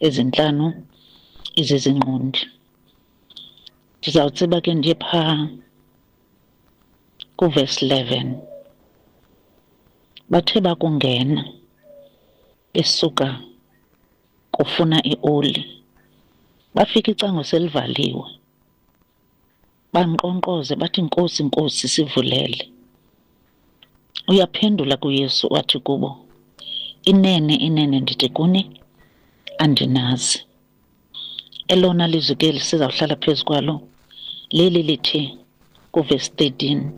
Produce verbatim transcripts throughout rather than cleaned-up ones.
Ezintlanu izizingqondi. Ndizawutsiba ke ndiye phaa kuvesi eleven. Bathe bakungena besuka kufuna ioli, bafika icango selivaliwe. Bankqonkqoze bathi, "Nkosi, Nkosi, sivulele." Uyaphendula kuYesu wathi kubo, "Inene, inene ndithi kuni, andinazi." Elona lizwi ke lisizawuhlala phezu kwalo leli lithi kuvesi thirteen,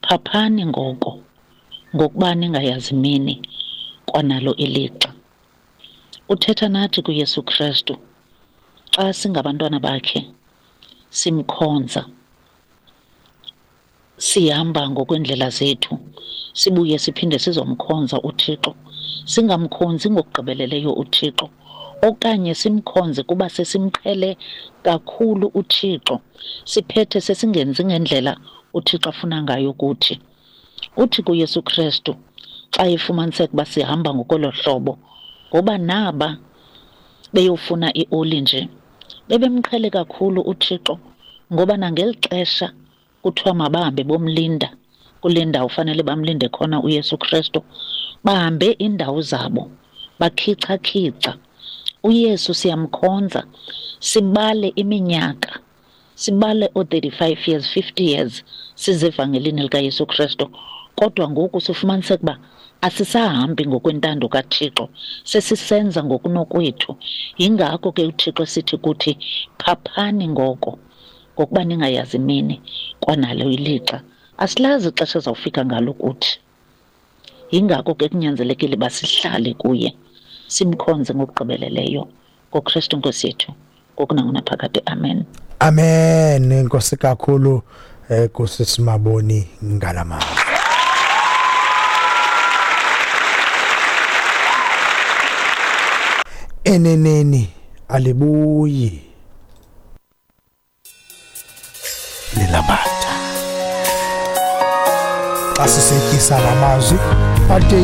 "Phaphani ngoko, ngokuba ningayazi imini kwanalo ilixa." Uthetha nathi kuYesu Kristu xa singabantwana bakhe, simkhonza, sihamba ngokwendlela zethu, sibuye siphinde sizomkhonza uThixo, singamkhonzi ngokugqibeleleyo uThixo, okanye simkhonze kuba sesimqhele kakhulu uThixo, siphethe sesingenzi ngendlela uThixo afuna ngayo kuthi. Uthi kuYesu Kristu xa efumaniseka uba sihamba ngokolo hlobo, ngoba naba beyofuna ioli nje bebemqhele kakhulu uThixo, ngoba nangeli xesha kuthiwa mabahambe bomlinda kule ndawo fanele bamlinde khona uYesu Kristu, bahambe iindawo zabo bakhica-khica. UYesu siyamkhonza, sibale iminyaka, sibale oo-thirty-five years, fifty years sizevangelini likaYesu Kristu, kodwa ngoku sifumaniseka uba asisahambi ngokwentando kaThixo, sesisenza ngokunokwethu. Yingako ke uThixo sithi kuthi, "Phaphani ngoko, ngokuba ningayazi imini kwanalo ilixa." Asilazi ixesha ezawufika ngalo kuthi. Yingako ke kunyanzelekile uba sihlale kuye, simkhonze ngokugqibeleleyo ngoKristu Nkosi yethu, ngokunangonaphakade. Amen. Amen. Enkosi kakhulu eh kusisimaboni ngalamazwi. Eneneni alibuyi lilambatha. Xa sisetyisa lamazwi ade